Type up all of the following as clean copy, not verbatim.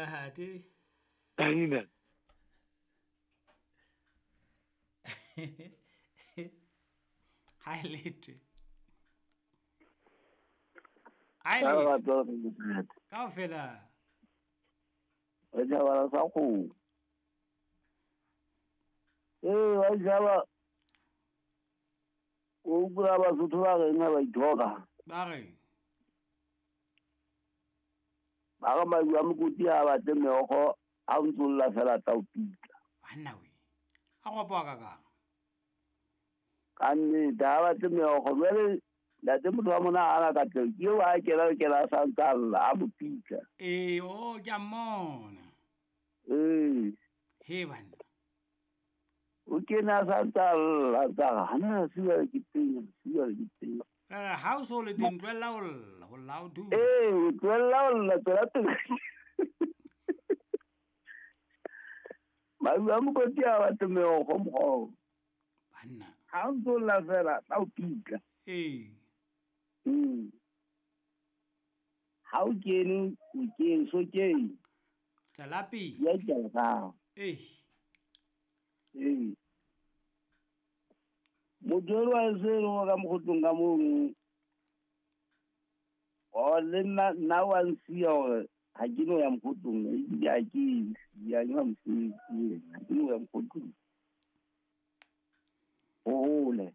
Ntate. Danina. Ha e lete. Ha e lete. Kaofela. Wa jaba sa go. Eh, wa jaba. O kula Basotho ba reng ha ba ithoka. Ba reng? Ba re madi a mokoti ha batle meokgo a ntsolla fela tla o pitla. Banna we. A go poa ka kang. Ka nnete ha batle meokgo jwale ntate motho wa mona ha ana ka tleng ke eo a kena kena sa ntsa lla a mo pitla. Ee, o ke a mmona. Ee. He banna. O kene a sa ntsa lla tsa re hana siwa ke teng siwa ke teng. Re ha o so le teng tlohella ho lla ho lla o thuse. Ee, o tlohella ho lla tswela pele. Madi a mokoti ha batle meokgo mokgwa. Banna. Ha o ntso lla fela tla o pitla. Ee. Ha o kene o kene so kene. Tswela pele. Ya ke Ee. Ee. Motho elwa e se le ka mokgotlong ka mono. O le nna nna wa nsiya hore ha ke no ya mokgotlong ebile ha ke ya ke mosebetsi ha ke no ya mokgotlong. O hole.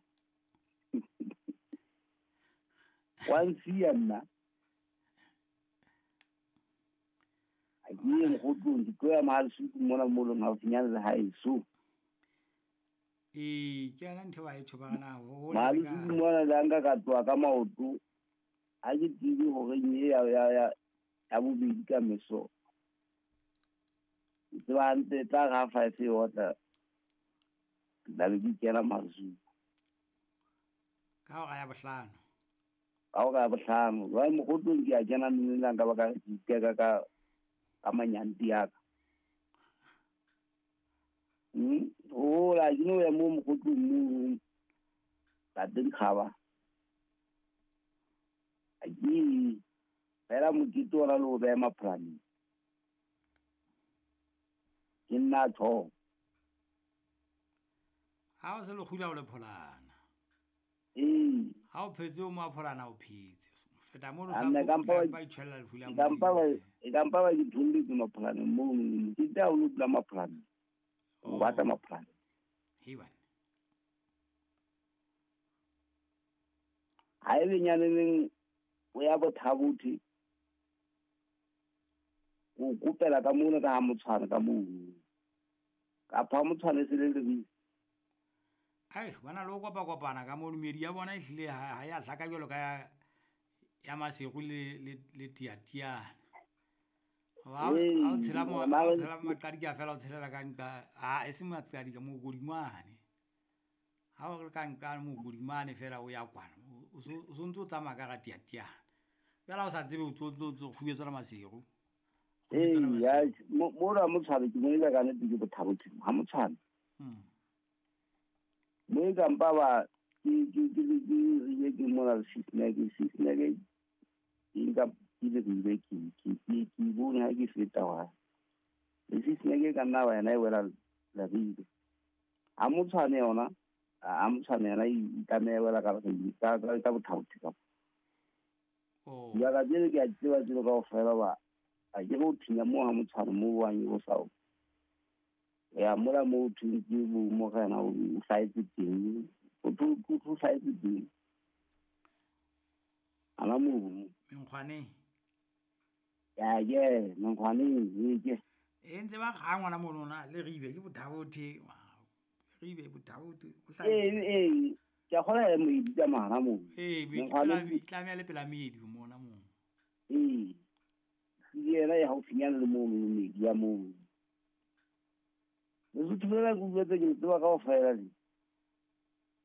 Wa nsiya nna. Ha ke ye mokgotlong ke tlo ya Mahalesuku mona mo leng haufinyane le haeso. Ee, ke yona ntho ba e tjho ba na ho Mahalesuku mona le nka ka tloha ka maoto. Ha ke tsebe hore e ya ya ya ya bobedi ka meso. Ke tseba hantle tla re ha 5 e otla. Ke tla be ke kena Mahalesuku. Ka hora ya bohlano. Ka hora ya bohlano. Jwale mokgotlong ke a kena neng ka baka ke iteka ka ka manyanti ya ka. Hola ke no ya mo mokgotlong mo. Ka teng kgaba. Ha ke fela mokete ona le ho beha mapholaneng. Ke nna tho. Ha o se le kgula o le pholana. Ee. Ha o phetse o mo pholana o phetse. Feta mono A nna ka mpa ba itjhella lefu la ka mpa ba Modimo. e ka mpa ba ke tholletse mapholaneng mono. Mokete ha o lo dula mapholaneng. O batla mapholaneng. He bana. Ha ebe nyaneng o ya Bothabothe. O kopela ka mona ka ha motshwana ka mono. Kapa ha motshwana e se le lebitso. Ai, bana le ho kopa-kopana ka mono meedi ya bona ehlile ha ya hlaka jwalo ka ya Maseru le le le Tiatiana. Ha o tshela mo ha o tshela maqadika fela o tshelela ka nqa ha e se maqadika mokodimane. Ha o le ka nqa mokodimane fela o ya kwana o so ntso o tsamaya ka ga Tiatiana. Jwale ha o sa tsebe o tso tso kgubetsana Maseru. Ee, ya mo ra motshwana ke mo ile ka nnete ke Bothabothe ha motshwana. Mo e ka mpa ba ke ke ke ke ke ke mona le sisneke ke nka ke le ke ke ke ke ke bone ha ke feta wa. Le sisneke ka nna wa yena e wela la bile. Ha motshwana yona, ha motshwana yena e tlameha e wela ka ka ka Bothabothe ka. Oh. Ya ka tsele ke a tseba tselo kaofela ba a ke go thinya mo ha motshwana mo wa o sa. Ya mola mo thweng ke bo morena o hlahetse teng. O tlo hlahetse teng. Ana mo. Menkgwaneng. Ya ke menkgwaneng e ke. E ntse ba kga ngwana mono na le ribe ke Bothabothe. Ribe Bothabothe o hlahetse. Ee ee ke a kgona ya moedi ka mahara moo. Ee, ke tlameha le pela meedi mona moo. Ee. Ke yena ya haufinyane le moo meedi ya moo. Lesotho lena ke utlwetse ke le tseba kaofela le.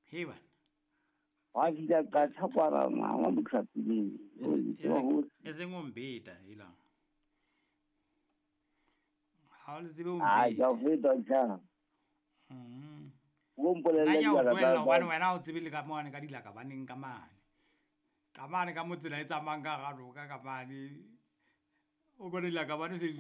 He bana. Wa fihla ka tjhakwana mama motlhapileng. E seng o mbeta ela. Ha o le tsebe o Ah, mbeta. ke a feta tjha. O mpolelle Nna ke a o dilaka tlohella tsa hobane wena ha o tsebe le ka mane ka dilaka baneng ka mane. Ka mane ka mo tsela e tsamayang ka hara noka ka mane. O bone dilaka bane se